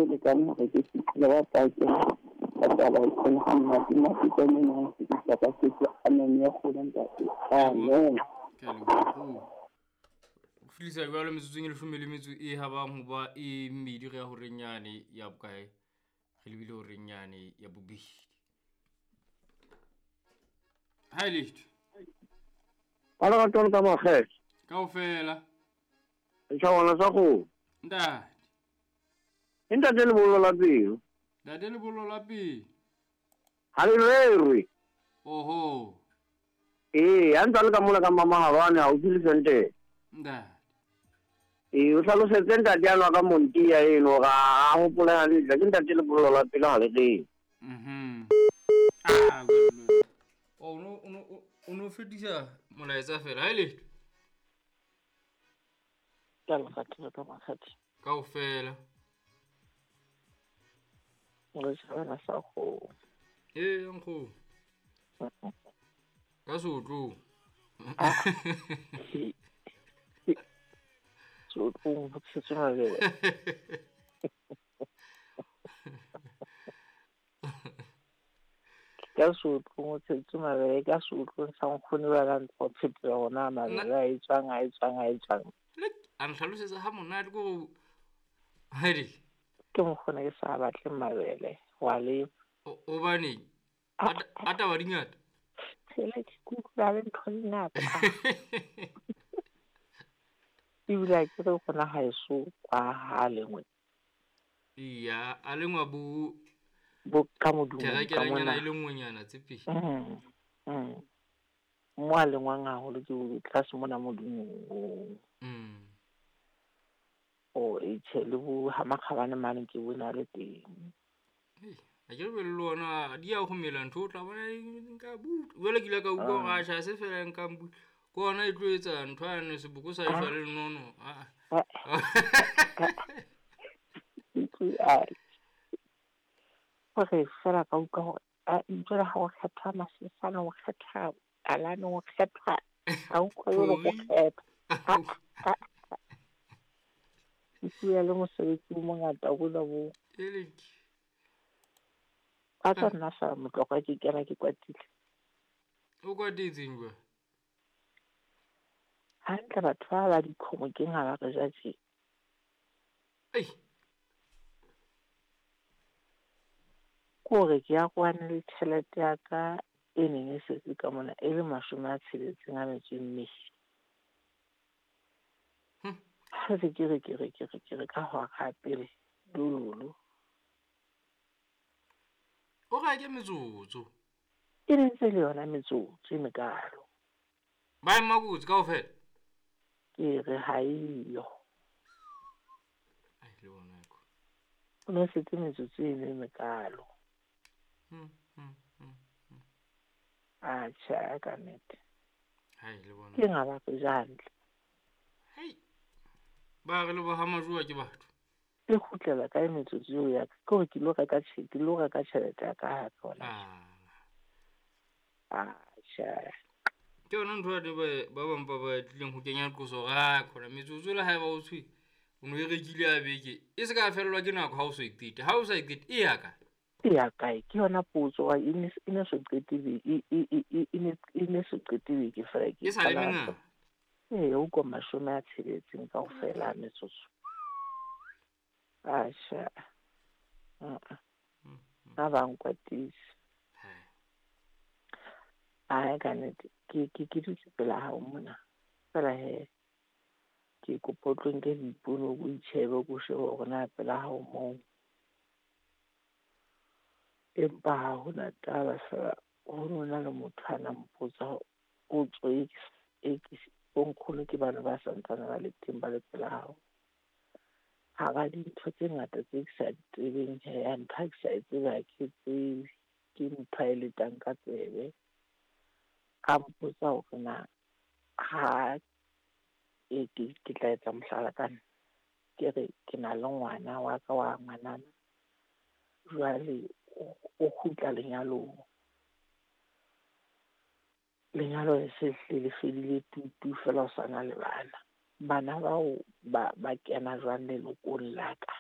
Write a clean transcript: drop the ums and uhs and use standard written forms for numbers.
lekane hore ke fihlile ba pake ka taba ena ha monate mapitsane nang fetisa ka setso. Amen ya kgolo ntate. Amen. Ke a leboha. Ho fihlisa jwalo metsotsong e leshome le metso e habang ho ba e mmedi re ya horeng yane ya bokae? Re lebile horeng yane ya bobedi. Ha e letho. Ba lerato le ka makgethe. Kaofela. Setjhabana sa kgomo. Ntate. E ntate lebollo la pelo. Ntate lebollo la pelo. Ha le rerwe. Oho. Ee, ha ntse a le ka mona ka Mamahalwane haufi le Sentene. Ntate. Ee, o hlalosetse ntate ano ka Montia eno hore a hopole hantle. Ke ntate lebollo la pelo ha le rerwe. Mhm. Ah, well. Oh, no, no, o no fetisa molaetsa fela. Ha e letho. Ka lerato le ka makgethe. Kaofela. Setjhabana sa kgomo. Ee, nkgomo. Ka seotlong. Seotlong ho tshetswe mabele. Ka seotlong ho tshetswe mabele, ka seotlong sa nkgono ba la ntse ho phetela hore na mabele a etswang, a etswang, a etswang. A nhlalosetsa ha monate ko Hedi. Ke nkgono ke sa batle mabele wa lema. Hobaneng? A taba di ngata. Phela ke kutlwa le ntho di ngata. Ebile ha ke re gona haeso kwa ha lengwe. Iya, a lengwa bo bo ka modumo ka therekelanyana mona. e le nngwenyana tse pedi. Mo a lengwang haholo ke tlase mona modumong. O e tjhe le bo ha makgabane mane ke bona le teng. Ha ke re le lona di ya ho mela ntho o tla bona nka butle. Jwale ke ile ka utlwa hore atjha ha se fela nka butle. Ke hona e tlo etsa ntho yane seboko sa eshwa le lenono. Ah. Hore fela ka utlwa hore a jwale ha o kgetha masesane, o kgetha alane, o kgetha ha o utlwa jwalo o kgetha. Ke bua le mosebetsi o mongata bona bo. A tla nna fela motlokwa ke kena ke kwatile. O kwatetseng jwang? Hantle batho ba ba dikgomo ke ha ba re ja tje. Ei. Ke hore ke ya kwane le tjhelete ya ka e neng e setse ka mona e le 64 metso e mmedi. Ha se ke re ke re ke re ke re ka hora ya pele dololo. O re ke metsotso. E ne ntse le yona metsotso e mekalo. Ba ema kotsi kaofela? Ke re ha eyo. Ai, le bona ko. O ne setse metsotso e ne mekalo. Atjhe, ka nnete. Hai, le bona. Ke nga ba re ja hantle. Hei. Ba re le ba ha majoa ke batho. E kgutlela kae metsotso eo ya ka? Ke hore ke lo reka ke lo reka tjhelete ya ka hape hona. Atjhe. Ke yona ntho ya ba bang ba ba tlileng ho kenya qoso hore ha khona metsotso le haeba o tshwe o no e rekile ya beke e se ka fellwa ke nako ha o so e qete. Ha o sa e qete e ya kae? E ya kae? Ke yona potso wa e ne e ne so qete beke, e ne so qete beke fela ke E sa le qala mengata. Ee, o ko 60 kaofela metsotso. Atjhe. Ha ba nkwatisa. Ai, ka nnete, ke dutse pela hao mona. Fela he, ke kopa o tlo nke dipono, o itjhebe, o shebe hore na pela hao moo. Empa ha hona taba fela, ho no na le motho a na mpotsa potso e ke bonkgono ke bana ba santsane ba le teng ba le pela hao. Hara dintho tse ngata tse ke sa di tsebeng he, ya ntho ha ke sa e tsebe ha ke tsebe, ke ntho a e letang ka tsebe. A mpotsa hore na ha e ke tla etsa mohlala ka nna. Ke re ke na le ngwana wa ka wa ngwanana. Jwale o kgutla lenyalong. Lenyalo le se hle le fedile tutu fela o sa na le bana. Bana bao ba kena jwang lelokong la ka?